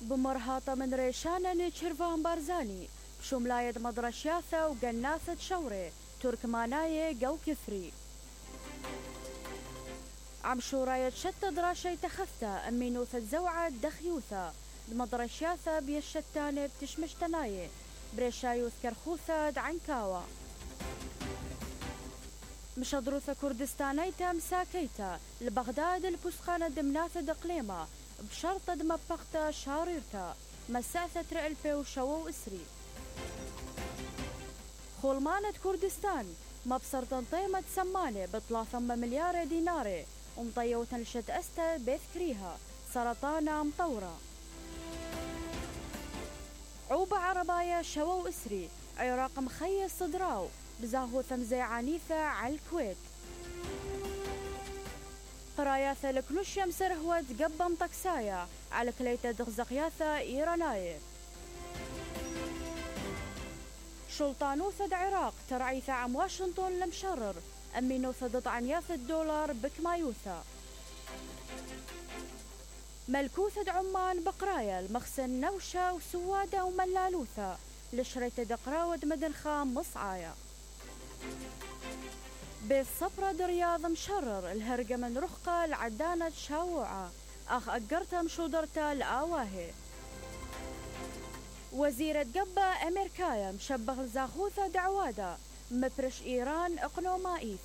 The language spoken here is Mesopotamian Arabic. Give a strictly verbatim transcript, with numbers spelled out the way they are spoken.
بمرهاطة من ريشانة نيتشيرفان بارزاني بشملاية مدرشياثة وقناثة شوري تركماناية قو كفري عم شوراية شتى دراشي تخفتا أمينوثة زوعة دخيوثة المدرشياثة بيشتانة بتشمشتناية بريشايوث كرخوثة عنكاوة مشدروثة كردستانيتا مساكيتا لبغداد البسخانة دمناثة دقليمة بشرطة دمبقتا شاريرتا مساثة رئلبي وشوو إسري خولمانة كردستان مبصر تنطيمة سمانة بثلاثة مليار دينار ومطيوتن لشت أستا بيذكريها سرطانة مطورة عوبة عربايا شوو إسري عراق مخيص صدراو بزاهو ثمزي عنيفة على الكويت قراياثة لكلوش يمسر هو تقبم طكسايا على كليتة دغزقياثة إيراناية شلطانوثة عراق ترعيثة عم واشنطن لمشرر أمينوثة ضطعنياثة الدولار بكمايوثة ملكوثة عمان بقرايا المخزن نوشة وسوادة وملالوثة لشريتة دقراود مدن خام مصعايا بالصبرة درياض مشرر الهرقة من رخقة العدانة شاوعة أخ أقرتها مشودرتا الآواهي وزيرة قبة أمريكايا مشبغ زاخوثة دعوادة مبرش إيران إقنومائيث